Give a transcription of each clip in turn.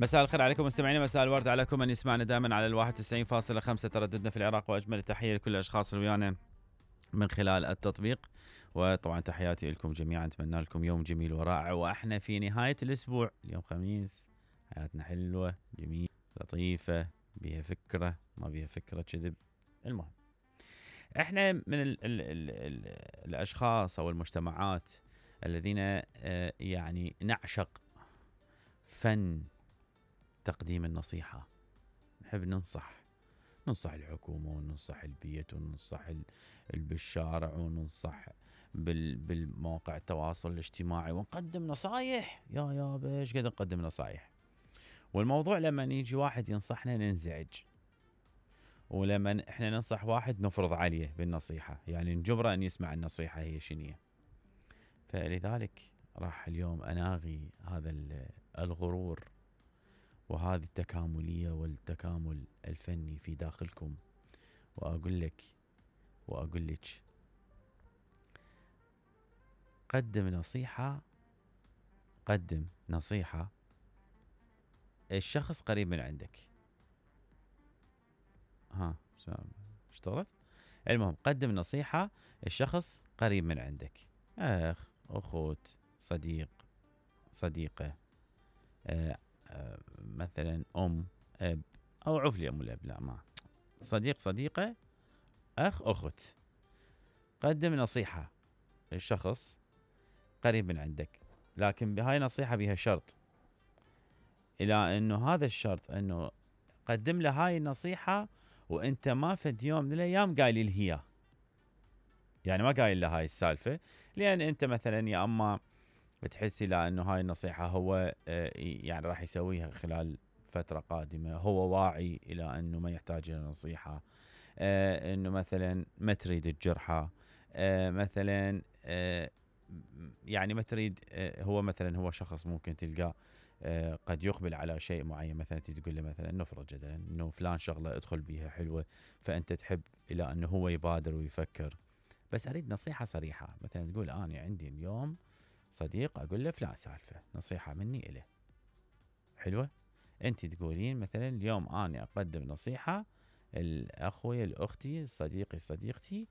مساء الخير عليكم مستمعينا، مساء الورد عليكم من يسمعنا دائما على 91.5 ترددنا في العراق، واجمل التحيه لكل الاشخاص اللي ويانا من خلال التطبيق. وطبعا تحياتي لكم جميعا، اتمنى لكم يوم جميل ورائع، واحنا في نهايه الاسبوع، اليوم خميس، حياتنا حلوه جميله لطيفه، بيها فكره ما بيها فكره كذب. المهم احنا من ال الاشخاص او المجتمعات الذين يعني نعشق فن تقديم النصيحة. نحب ننصح الحكومة، وننصح البيت، وننصح بالشارع، وننصح بالمواقع التواصل الاجتماعي، ونقدم نصايح. يا بايش قد نقدم نصايح. والموضوع لما يجي واحد ينصحنا ننزعج، ولما احنا ننصح واحد نفرض عليه بالنصيحة، يعني نجبره ان يسمع النصيحة هي شنية. فلذلك راح اليوم اناغي هذا الغرور وهذه التكاملية والتكامل الفني في داخلكم، وأقول لك قدم نصيحة الشخص قريب من عندك. اشتغلت؟ المهم قدم نصيحة الشخص قريب من عندك، أخ، أخوت، صديق، صديقة، مثلا أم، أب، أو عفلي أم الأب، لا ما صديق، صديقة، أخ، أخت. قدم نصيحة للشخص قريب من عندك، لكن بهاي نصيحة بها شرط، إلى أنه هذا الشرط أنه قدم له هاي النصيحة وأنت ما فد يوم من الأيام قايل له هي، يعني ما قايل له هاي السالفة، لأن أنت مثلا يا أما بتحسي لا أنه هاي النصيحة هو يعني راح يسويها خلال فترة قادمة، هو واعي إلى أنه ما يحتاج إلى نصيحة، أنه مثلا ما تريد تجرحه، مثلا يعني ما تريد، هو مثلا هو شخص ممكن تلقاه قد يقبل على شيء معين، مثلا تقول له مثلا نفرض جدلا انه فلان شغله ادخل بيها حلوه، فانت تحب الى انه هو يبادر ويفكر. بس اريد نصيحه صريحه، مثلا تقول انا عندي اليوم صديق اقول له فلان سالفه، نصيحه مني اليه حلوه. انت تقولين مثلا اليوم انا اقدم نصيحه الاخوي، الاختي، صديقي، صديقتي،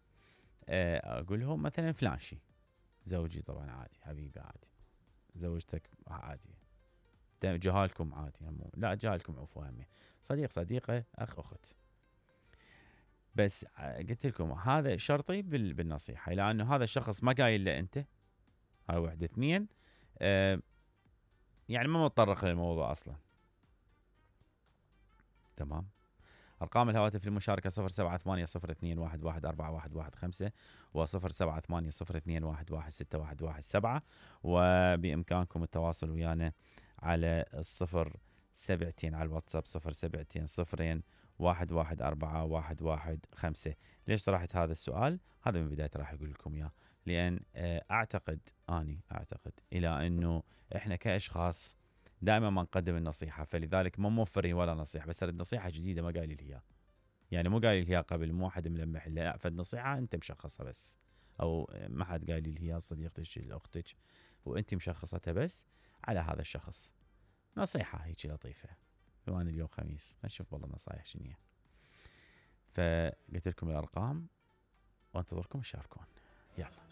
اقول لهم مثلا فلان شيء، زوجي طبعا عادي، حبيبي عادي، زوجتك عادي، جهالكم عادي، لا جهالكم عفوا همي، صديق، صديقه، اخ، اخت. بس قلت لكم هذا شرطي بالنصيحه، لانه هذا الشخص ما قايل له انت، هاي واحد. اثنين، يعني ما متطرق للموضوع اصلا. تمام. أرقام الهواتف للمشاركة 0780211415 و0780211617، وبإمكانكم التواصل ويانا على 07 على الواتساب 0720114115. ليش طرحت هذا السؤال؟ هذا من بداية راح أقول لكم إياه، لأن أعتقد إلى أنه إحنا كأشخاص دائما ما نقدم النصيحة، فلذلك ما موفرين ولا نصيحة، بس اريد نصيحة جديدة ما قايل لي اياها، يعني مو قايل لي اياها قبل، مو واحد ملمح لي، لا، فالنصيحة انت مشخصها بس، او ما حد قايل لي اياها، صديقتك اختك، وانت مشخصتها بس على هذا الشخص. نصيحة هيك لطيفة، بما ان اليوم خميس نشوف والله نصايح شنية. فقلت لكم الارقام وانتظركم تشاركون. يلا.